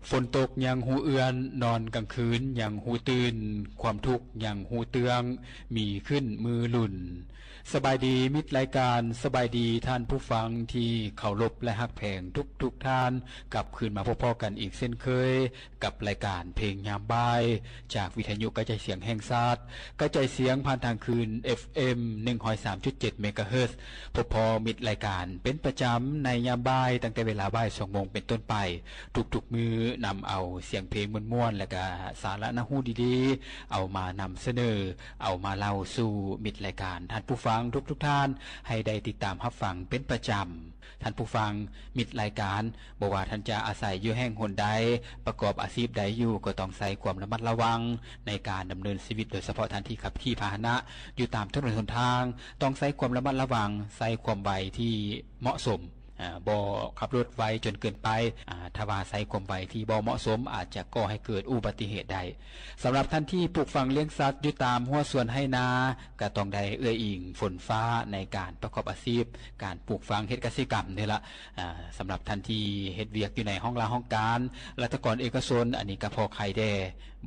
ຝົນຕົກຍັງຮູ້ເອື້ອນ, ນອນກາງຄືນຍັງຮູ້ຕື່ນ, ຄວາມທຸກຍັງຮູ້ເຕື້ອງ, ມີຂຶ້ນມືລຸນ. ສະບາຍດີມິດລາຍການ, ສະບາຍດີທ່ານຜູ້ຟັງທີ່ເຄົາລົບ ແລະ ຮັກແພງທຸກໆທ່ານ, ກັບຄືນມາພົບພໍ້ກັນອີກເຊັ່ນເຄີຍ ກັບລາຍການເພງຍາມບ່າຍ ຈາກວິທະຍຸກະຈາຍສຽງແຫ່ງຊາດ, ກະຈາຍສຽງຜ່ານທາງຄື້ນ ເອັຟເອັມ ໜຶ່ງຮ້ອຍສາມຈຸດເຈັດ ເມກາເຮີດ. ພົບພໍ້ມິດລາຍການເປັນປະຈຳໃນຍາມບ່າຍ ຕັ້ງແຕ່ເວລາບ່າຍສອງໂມງເປັນຕົ້ນໄປ ທຸກໆມື້, ນຳເອົາສຽງເພງມ່ວນໆ ແລະ ກະສາລະໜ້າຮູ້ດີໆ ເອົາມານຳສະເໜີ, ເອົາມາເລົ່າສູ່ມິດລາຍການທ່ານຜູ້ຟັງທຸກໆທ່ານ ໃຫ້ໄດ້ຕິດຕາມຮັບຟັງເປັນປະຈຳ. ທ່ານຜູ້ຟັງ, ມິດລາຍການ, ບໍ່ວ່າທ່ານຈະອາໄສຢູ່ແຫ່ງຫົນໃດ, ປະກອບອາຊີບໃດຢູ່, ກໍຕ້ອງໃຊ້ຄວາມລະມັດລະວັງໃນການດຳເນີນຊີວິດ, ໂດຍສະເພາະທ່ານທີ່ຂັບຂີ່ພາຫະນະຢູ່ຕາມຖະໜົນຫົນທາງ, ຕ້ອງໃຊ້ຄວາມລະມັດລະວັງ, ໃຊ້ຄວາມໄວທີ່ເໝາະສົມ, ອາ, ບໍ່ຂັບລົດໄວຈົນເກີນໄປ, ອາ, ຖ້າວ່າໃຊ້ຄວາມໄວທີ່ບໍ່ເໝາະສົມ, ອາດຈະກໍ່ໃຫ້ເກີດອຸບັດຕິເຫດໄດ້. ສຳລັບທ່ານທີ່ປູກຝັງລ້ຽງສັດຢູ່ຕາມຮົ້ວສວນໄຮ່ນາ, ກໍຕ້ອງໄດ້ເອື້ອຍອີງຝົນຟ້າໃນການປະກອບອາຊີບການປູກຝັງເຮັດກະສິກຳນີ້ລະ. ອາ, ສຳລັບທ່ານທີ່ເຮັດວຽກຢູ່ໃນຫ້ອງລາຫ້ອງການ, ລັດຖະກອນເອກະຊົນ, ອັນນີ້ກໍພໍໄຄແດ່,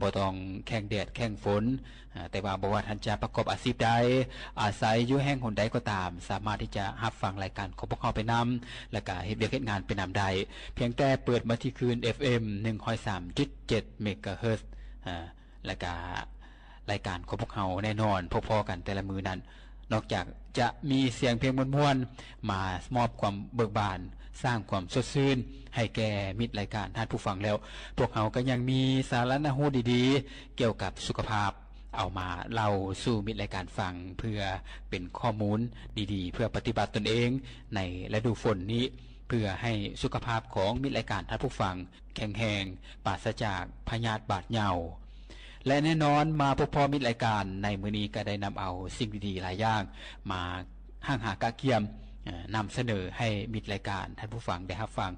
ບໍ່ຕ້ອງແຂ່ງແດດແຂ່ງຝົນ. ອາ, ແຕ່ວ່າບໍ່ວ່າທ່ານຈະປະກອບອາຊີບໃດ, ອາໄສຢູ່ແຫ່ງຫົນໃດກໍຕາມ, ສາມາດທີ່ຈະຮັບຟັງລາຍການຂອງພວກເຮົາໄປນຳ, ແລ້ວກະເຮັດວຽກເຮັດງານໄປນຳໄດ້. ພຽງແຕ່ເປີດມາທີ່ຄື້ນ ເອັຟເອັມ ໜຶ່ງຮ້ອຍສາມຈຸດເຈັດ ເມກາເຮີດ. ອາ, ແລ້ວກະລາຍການຂອງພວກເຮົາແນ່ນອນ ພໍ້ໆກັນແຕ່ລະມື້ນັ້ນ, ນອກຈາກຈະມີສຽງເພງມ່ວນໆ ມາມອບຄວາມເບີກບານ, ສ້າງຄວາມສົດຊື່ນໃຫ້ແກ່ມິດລາຍການທ່ານຜູ້ຟັງແລ້ວ, ພວກເຮົາກໍຍັງມີສາລະໜ້າຮູ້ດີໆ ກ່ຽວກັບສຸຂະພາບ ເອົາມາເລົ່າສູ່ມິດລາຍການຟັງ ເພື່ອເປັນຂໍ້ມູນດີໆ ເພື່ອປະຕິບັດຕົນເອງໃນລະດູຝົນນີ້, ເພື່ອໃຫ້ສຸຂະພາບຂອງມິດລາຍການທ່ານຜູ້ຟັງ ແຂງແຮງ, ປາສະຈາກພະຍາດບາດເຍົາ. ແລະ ແນ່ນອນ, ມາພົບພໍ້ມິດລາຍການໃນມື້ນີ້ ກໍໄດ້ນຳເອົາສິ່ງດີໆຫຼາຍຢ່າງມາຮັ່ງຫາກະກຽມ, ນຳສະເໜີໃຫ້ມິດລາຍການທ່ານຜູ້ຟັງໄດ້ຮັບຟັງ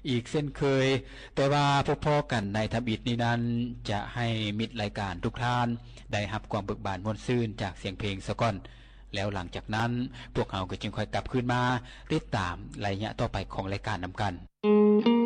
ອີກເຊັ່ນເຄີຍ. ແຕ່ວ່າພົບພໍ້ກັນໃນທຳອິດນີ້ນັ້ນ, ຈະໃຫ້ມິດລາຍການທຸກທ່ານໄດ້ຮັບຄວາມເບີກບານມ່ວນຊື່ນຈາກສຽງເພງສາກ່ອນ, ແລ້ວຫຼັງຈາກນັ້ນ ພວກເຮົາກໍຈຶ່ງຄ່ອຍກັບຄືນມາຕິດຕາມໄລຍະຕໍ່ໄປຂອງລາຍການນຳກັນ.